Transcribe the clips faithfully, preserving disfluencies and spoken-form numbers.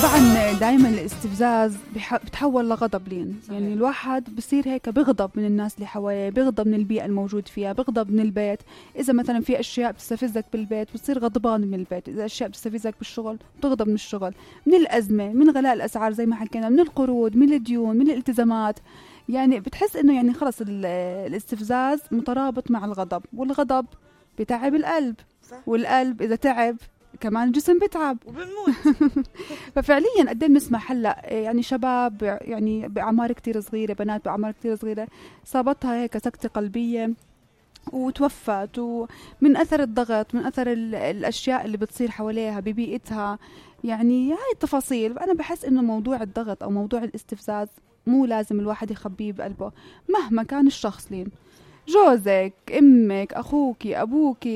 طبعا دائما الاستفزاز بتحول لغضب لين، يعني الواحد بصير هيك بغضب من الناس اللي حواليه، بغضب من البيئة الموجود فيها، بغضب من البيت. إذا مثلا في أشياء بتستفزك بالبيت بتصير غضبان من البيت، إذا أشياء بتستفزك بالشغل بتغضب من الشغل، من الأزمة، من غلاء الأسعار زي ما حكينا، من القروض، من الديون، من الالتزامات. يعني بتحس إنه يعني خلص الاستفزاز مترابط مع الغضب، والغضب بتعب القلب، والقلب إذا تعب كمان الجسم بتعب وبنموت. ففعليا قد ايه بنسمع هلا يعني شباب يعني باعمار كتير صغيره، بنات باعمار كتير صغيره صابتها هيك سكته قلبيه وتوفت، ومن اثر الضغط، من اثر الاشياء اللي بتصير حواليها ببيئتها. يعني هاي التفاصيل. انا بحس انه موضوع الضغط او موضوع الاستفزاز مو لازم الواحد يخبيه بقلبه مهما كان الشخص لين، جوزك، امك، اخوك، ابوك،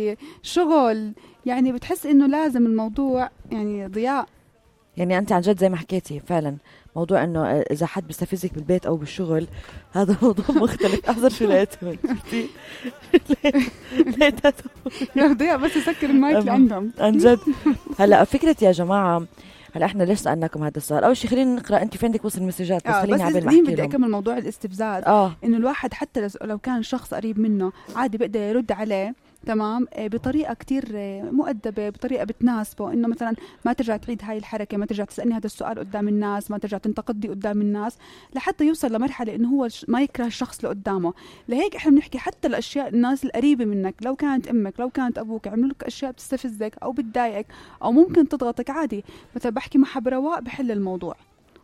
شغل. يعني بتحس انه لازم الموضوع يعني ضياء. يعني انت عن جد زي ما حكيتي فعلا موضوع انه اذا حد بيستفزك بالبيت او بالشغل هذا موضوع مختلف. احذر شو لقيت يا ضياء بس يسكر المايك اللي عندهم عن جد. هلا فكرة يا جماعة، هلا احنا ليش سألناكم هذا السؤال؟ اول شيء خلينا نقرا، انت في عندك وصل المسجات بس آه خليني عبال ما احكي بدي اكمل موضوع الاستفزاز. اه انه الواحد حتى لو كان شخص قريب منه عادي بقدر يرد عليه تمام بطريقة كتير مؤدبة، بطريقة بتناسبه، إنه مثلا ما ترجع تعيد هاي الحركة، ما ترجع تسألني هذا السؤال قدام الناس، ما ترجع تنتقدي قدام الناس، لحتى يوصل لمرحلة إنه هو ما يكره الشخص اللي قدامه. لهيك إحنا بنحكي حتى الأشياء الناس القريبة منك، لو كانت أمك، لو كانت أبوك، عملوا لك أشياء بتستفزك أو بتضايقك أو ممكن تضغطك، عادي مثلا بحكي مع برواء بحل الموضوع.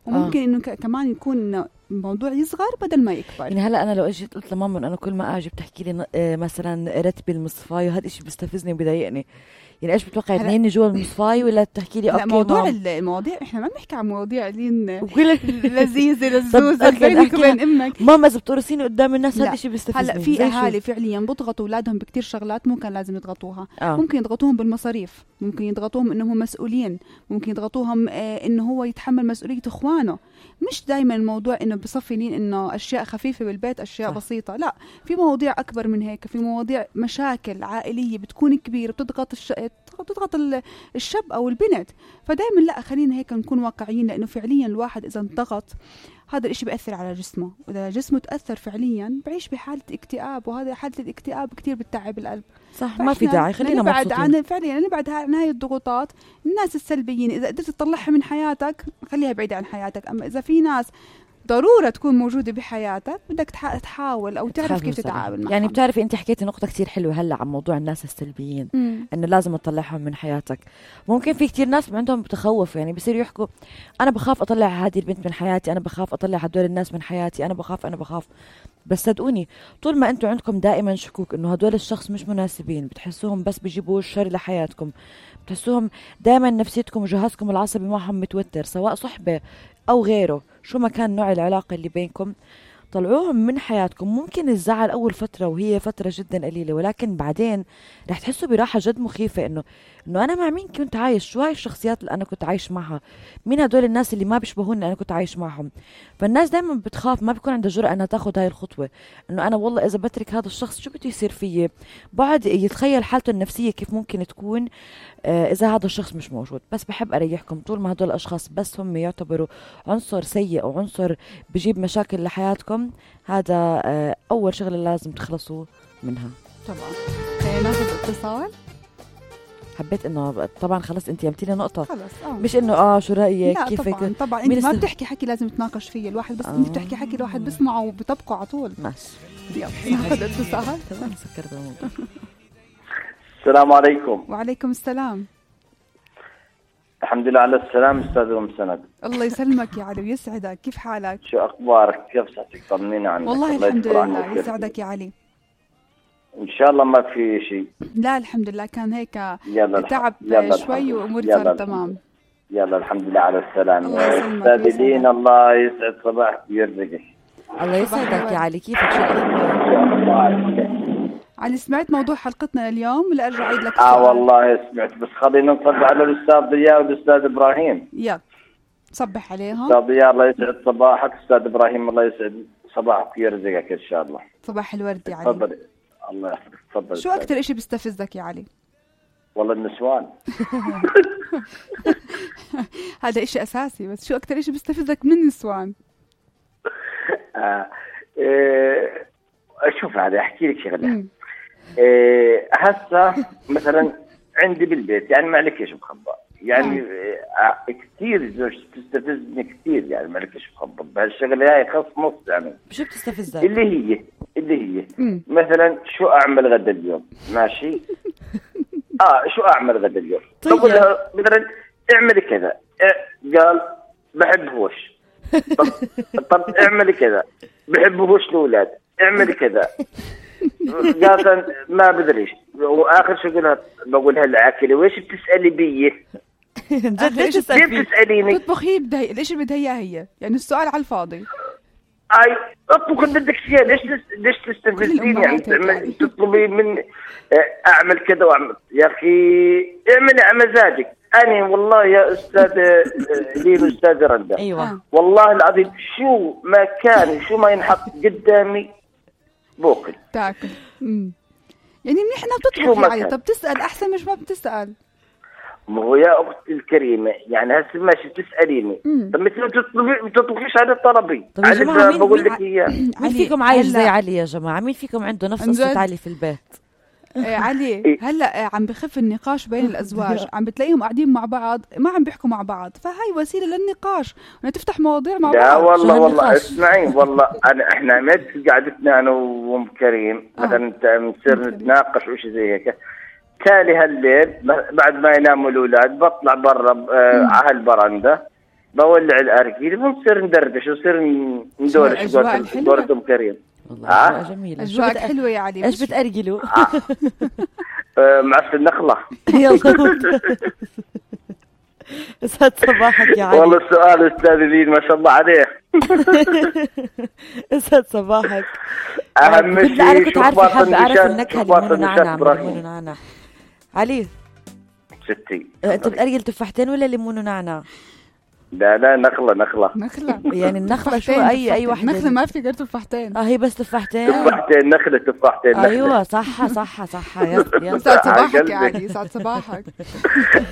وممكن آه. إنه كمان يكون الموضوع يصغر بدل ما يكبر. يعني هلا انا لو اجيت قلت لماما انا كل ما اجي بتحكي لي مثلا رتبي المصفايه، هذا الشيء بيستفزني وبيضايقني. يعني ايش بتوقعي تنيني جوا المصفايه ولا بتحكي لي اوكي موضوع مام. المواضيع احنا ما بنحكي عن مواضيع لين لذيذه لزوزه بينك وبين امك. ماما اذا بتورسيني قدام الناس هذا الشيء بيستفزني. هلا في اهالي فعليا بيضغطوا اولادهم بكتير شغلات مو كان لازم يضغطوها. آه. ممكن يضغطوهم بالمصاريف، ممكن يضغطوهم انهم مسؤولين، ممكن يضغطوهم آه انه هو يتحمل مسؤوليه اخوانه. مش دائما الموضوع انه بصفي لين انه اشياء خفيفه بالبيت، اشياء صح. بسيطه، لا، في مواضيع اكبر من هيك، في مواضيع مشاكل عائليه بتكون كبيره بتضغط الش... بتضغط الشاب او البنت. فدائما لا، خلينا هيك نكون واقعيين، لانه فعليا الواحد اذا انضغط هذا الاشي بيأثر على جسمه، واذا جسمه تأثر فعليا بعيش بحالة اكتئاب، وهذا حالة الاكتئاب كتير بتتعب القلب. صح، ما في داعي، خلينا نبعد عن فعليا نبعد عن هاي الضغوطات. الناس السلبيين اذا قدرت تطلعها من حياتك خليها بعيدة عن حياتك. اما اذا في ناس ضرورة تكون موجودة بحياتك بدك تحاول أو تعرف كيف تتعامل معهم. يعني بتعرفي أنت حكيتي نقطة كتير حلوة هلأ عن موضوع الناس السلبيين، إنه لازم تطلعهم من حياتك. ممكن في كتير ناس عندهم بتخوف، يعني بيصير يحكوا أنا بخاف أطلع هذه البنت من حياتي، أنا بخاف أطلع هدول الناس من حياتي، أنا بخاف أنا بخاف بس صدقوني طول ما أنتوا عندكم دائما شكوك إنه هدول الشخص مش مناسبين، بتحسوهم بس بيجيبوا الشر لحياتكم، بتحسوهم دائما نفسيتكم وجهازكم العصبي معهم متوتر، سواء صحبة أو غيره، شو ما كان نوع العلاقة اللي بينكم، طلعوهم من حياتكم. ممكن الزعل أول فترة وهي فترة جدا قليلة، ولكن بعدين رح تحسوا براحة جد مخيفة إنه إنه أنا مع مين كنت عايش، شو هاي الشخصيات اللي أنا كنت عايش معها، مين هدول الناس اللي ما بيشبهوني أنا كنت عايش معهم. فالناس دايما بتخاف، ما بيكون عندها جرأة أنها تاخد هاي الخطوة، إنه أنا والله إذا بترك هذا الشخص شو بده يصير فيه، بعد يتخيل حالته النفسية كيف ممكن تكون آه إذا هذا الشخص مش موجود. بس بحب أريحكم، طول ما هدول الأشخاص بس هم يعتبروا عنصر سيء أو عنصر بجيب مشاكل لحياتكم، هذا آه أول شغلة لازم تخلصوا منها. طبعا خلينا ناخذ اتصال. حبيت انه طبعا خلص انت قلتي لي نقطه خلص آه. مش انه اه شو رايك كيفك. طبعا طبعا انت ما بتحكي حكي لازم تناقش فيه الواحد، بس آه. انت بتحكي حكي الواحد بسمعه وبطبقه على طول. ماشي يلا ناخذ اتصال. تمام سكرت الموضوع. السلام عليكم. وعليكم السلام. الحمد لله على السلام استاذ ام سند. الله يسلمك يا علي ويسعدك، كيف حالك؟ شو اخبارك؟ كيف صحتك؟ طمنينا عنك. والله الحمد لله يسعدك يا علي. ان شاء الله ما في شيء. لا الحمد لله، كان هيك تعب يلا شوي واموري صارت تمام. يلا الحمد لله على السلامه. الله يسلمك. استاذ لين الله يسعد صباحك ويرزقك. الله يسعدك يا علي، كيفك؟ شو الاخبار؟ علي سمعت موضوع حلقتنا اليوم ولا ارجع اعيد لك؟ اه والله سمعت، بس خلينا نصب على الاستاذ ضياء والاستاذ ابراهيم. يلا صبح عليهم. استاذ ضياء الله يسعد صباحك، استاذ ابراهيم الله يسعد صباحك ويرزقك ان شاء الله. صباح الورد يا علي. تفضل. الله يحفظك، تفضل. شو اكثر اشي بيستفزك يا علي؟ والله النسوان. هذا إشي أساسي، بس شو أكتر إشي بيستفزك من النسوان؟ آه. إيه. شوف هذا أحكي لك شغلة. إيه. هسه مثلا عندي بالبيت يعني ما عليك إيش مخبى يعني آه. كثير زوج تستفزني كثير يعني ما عليك إيش مخبى بهالشغلة هاي خص نص يعني. شو بتستفزك؟ اللي هي اللي هي م. مثلا شو أعمل غدا اليوم ماشي. آه شو أعمل غدا اليوم؟ طيب. بقول لها مثلا اعملي كذا، قال بحبهوش. طب, طب اعملي كذا، بحبهوش الأولاد، اعملي كذا. قال ما بدريش. وآخر شو قلها بقولها العاكلة ويش بتسألي بيه؟ جد ليش بتسأليني؟ تطبخ هي بدها ليش بدها إياه هي؟ يعني السؤال على الفاضي. اي اطبخ اللي بدك فيها. ليش ليش تستفزيني يعني تطلبي من اعمل كذا واعمل؟ يا اخي اعملي على مزاجك. انا والله يا استاذ لي استاذ رندا ايوه والله العظيم شو ما كان شو ما ينحط قدامي بوكل تاكل. امم يعني منيح انها بتطبخ يعني. طب تسال احسن مش ما بتسال. ما هو يا اختي الكريمه يعني هسه ماشي تساليني. طب مثل ما تطلبي ما تطبخيش على طلبي. طب يا جماعه مين بقول لك اياه مين فيكم عايش زي علي يا جماعه؟ مين فيكم عنده نفس قصه علي في البيت؟ إيه علي هلا عم بخف النقاش بين الازواج، عم بتلاقيهم قاعدين مع بعض ما عم بيحكوا مع بعض، فهاي وسيله للنقاش انها تفتح مواضيع مع بعض. لا والله والله اسمعي والله انا احنا مد قعدتنا انا وام كريم مثلا بنصير نتناقش وشي زي هيك. تالي هالليل بعد ما يناموا الاولاد بطلع برا على البرندة بولع الارجيل ونصير ندردش ونصير ندورش دورة ام كريم. والله أجواء جميلة. أجواء حلوة يا علي. إيش بتأرجلوا؟ آه. معسل النخلة. يلا يسعد صباحك يا علي. والله السؤال أستاذ لين ما شاء الله عليه. يسعد صباحك. أهم شيء أنا كنت عارفة حابة أعرف النكهة اللي مونو نعناع ليمون نعناع. علي ستي أنت بتأرجل تفاحتين ولا ليمون نعناع؟ لا لا نخلة نخلة نخلة يعني النخلة شو أي أي واحدة نخلة ما في غير تفاحتين. اه هي بس تفاحتين تفاحتين نخلة تفاحتين نخلة. أيوة صح صح صح يا يا سعد صباحك يا علي سعد صباحك.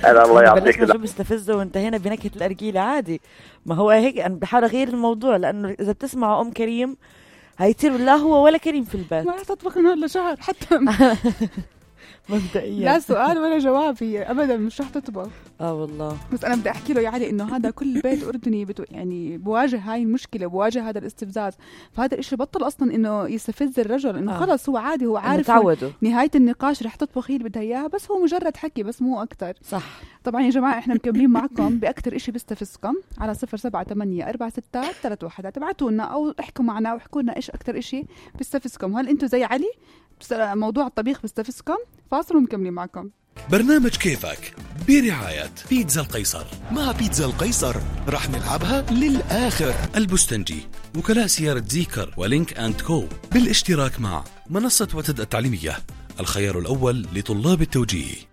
أنا الله يعطيك شو بستفزه وانتهينا بنكهة الأرجيلة عادي. ما هو هيك أنا بحاول أغير الموضوع لأنه إذا بتسمعوا أم كريم هيصير لا هو ولا كريم في البيت. ما رح تطبخ من هلا شهر حتى مبدئيا لا سؤال ولا جواب هي ابدا مش رح تطبخ. اه والله بس انا بدي احكي له يا علي انه هذا كل بيت اردني بتو يعني بواجه هاي المشكله بواجه هذا الاستفزاز. فهذا الاشي بطل اصلا انه يستفز الرجل انه آه. خلص هو عادي هو عارف نهايه النقاش رح تطبخ هي اللي بدها اياها بس هو مجرد حكي بس مو اكتر. صح. طبعا يا جماعه احنا مكملين معكم باكثر اشي بيستفزكم على صفر سبعة ثمانية أربعة ستة ثلاثة واحد. تبعتوا لنا او احكوا معنا واحكوا لنا ايش اكثر اشي بيستفزكم. هل انتم زي علي موضوع الطبيخ بيستفزكم؟ فاصل ومكملين معكم. برنامج كيفك برعاية بيتزا القيصر. مع بيتزا القيصر رح نلعبها للآخر. البستنجي وكلاء سيارة زيكر ولينك أند كو بالاشتراك مع منصة وتد التعليمية الخيار الأول لطلاب التوجيه.